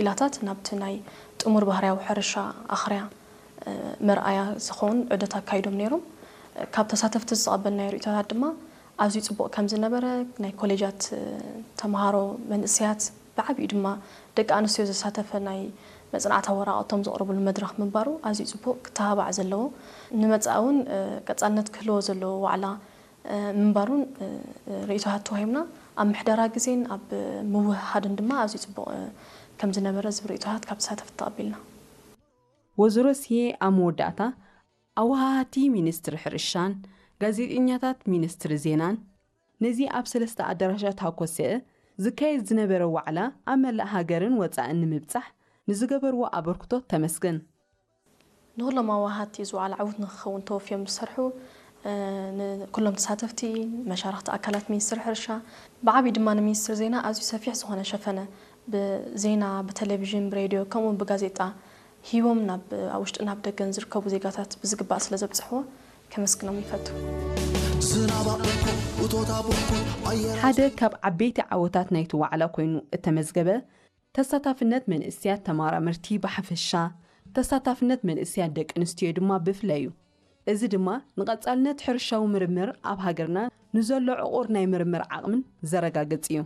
ኢላታት ናብቲ ናይ ጥሙር ባህርያዊ ሕርሻ ኣኽርያ መርኣያ ዝኸውን ዑደት ኣካይዶም ነይሮም። ካብ ተሳተፍቲ ዝተቐበልናዮ ርእይቶታት ድማ ኣዝዩ ጽቡቕ ከም ዝነበረ፣ ናይ ኮሌጃት ተምሃሮ መንእሰያት ብዓቢኡ ድማ ደቂ ኣንስትዮ ዘሳተፈ ናይ መጽናዕታዊ ወረቓቕቶም ዘቕርብሉ መድረኽ ምንባሩ ኣዝዩ ጽቡቕ ክተባባዕ ዘለዎ፣ ንመጻኢ እውን ቀጻልነት ክህልዎ ዘለዎ ዋዕላ ምንባሩን ርእይቶታት ተዋሂብና። ኣብ ምሕደራ ግዜን ኣብ ምውህሃድን ድማ ኣዝዩ ጽቡቕ ከም ዝነበረ ዝብል ርእይቶታት ካብ ተሳተፍቲ ተቐቢልና። ወይዘሮ ስየ ኣብ መወዳእታ ኣወሃሃቲ ሚኒስትሪ ሕርሻን ጋዜጠኛታት ሚኒስትሪ ዜናን ነዚ ኣብ ሰለስተ ኣዳራሻት ሃኮሰአ ዝካየድ ዝነበረ ዋዕላ ኣብ መላእ ሃገርን ወጻእን ንምብጻሕ ንዝገበርዎ ኣበርክቶ ተመስገን። ንኹሎም ኣወሃሃቲ እዚ ዋዕላ ዕዉት ንክኸውን ተወፍዮም ዝሰርሑ ኩሎም ተሳተፍቲ፣ መሻርኽቲ ኣካላት ሚኒስትሪ ሕርሻ፣ ብዓብዩ ድማ ንሚኒስትሪ ዜና ኣዝዩ ሰፊሕ ዝኾነ ሸፈነ ብዜና፣ ብቴሌቪዥን፣ ብሬድዮ ከምኡ እውን ብጋዜጣ ሂቦም ናብ ኣብ ውሽጥን ኣብ ደገን ዝርከቡ ዜጋታት ብዝግባእ ስለ ዘብፅሕዎ ከመስግኖም ይፈቱ። ሓደ ካብ ዓበይቲ ዓወታት ናይቲ ዋዕላ ኮይኑ እተመዝገበ ተሳታፍነት መንእሰያት ተመራመርቲ ብሓፈሻ፣ ተሳታፍነት መንእሰያት ደቂ ኣንስትዮ ድማ ብፍላይ እዩ። እዚ ድማ ንቐጻልነት ሕርሻዊ ምርምር ኣብ ሃገርና ንዘሎ ዕቑር ናይ ምርምር ዓቕምን ዘረጋግጽ እዩ።